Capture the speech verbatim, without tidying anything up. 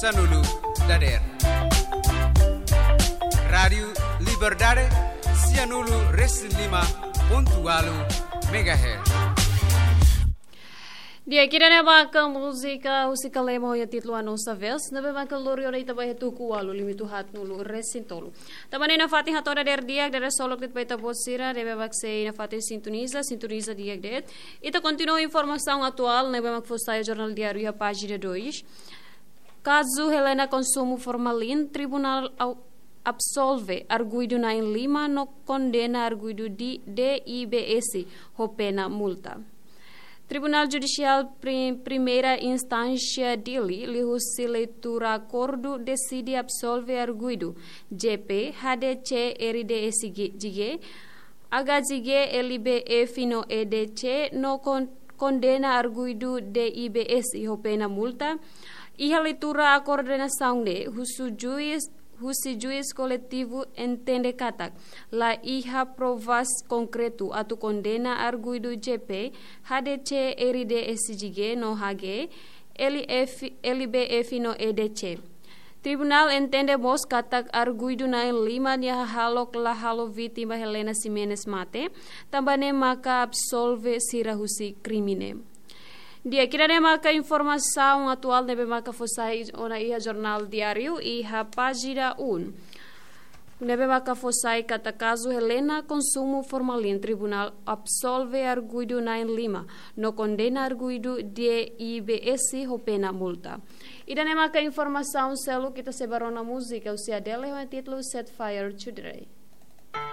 Sanulu dader. Rádiu Liberdade, sianulu resin lima pontu walu megahertz. Di'ak, ida-ne'e maka múzika husi Kalema ho títulu A Nossa Vez, ne'ebé maka lori ona ita ba iha tuku ualu limitu haat nulu resin tolu. Tanba ne'e nafatin hato'o dadeer di'ak, dadeer solok de'it ba ita-boot sira ne'ebé mak sei nafatin sintoniza, sintoniza di'ak de'it. Ita kontinua informasaun atuál ne'ebé mak fó sai Jornál Diáriu iha pájina dois. Kazu Helena konsumu formalin, tribunál au-, absolve arguidu na'in lima no kondena arguidu di D I B S ho pena multa. Tribunál Judisiál Pri-, Primeira Instánsia Dili, liuhusi leitura akordu, deside absolve arguidu J P, H D C, R D S G, G G, H G G, L B F no E D C, no kon-, kondena arguidu D I B S ho pena multa. Iha leitura akordu ne'e, husi juís, husi juís koletivu entende katak la iha provas konkretu atu kondena arguidu J P, H D C, R D S G G no H G, L F, L B F no E D C. Tribunál entende mós katak arguidu na'in lima nia hahalok la halo vítima Helena Ximenes mate, tanba ne'e maka absolve sira husi krime ne'e. Di'ak, ida-ne'e maka informasaun atuál ne'ebé maka fó sai ona iha Jornál Diáriu iha pájina um. Ne'ebé maka fó sai katak kazu Helena konsumu formalin, tribunál absolve arguidu na'in lima no kondena arguidu D I B S ho pena multa. Ida-ne'e maka informasaun seluk, ita sei ba rona múzika husi Adele ho títulu Set Fire to the Rain.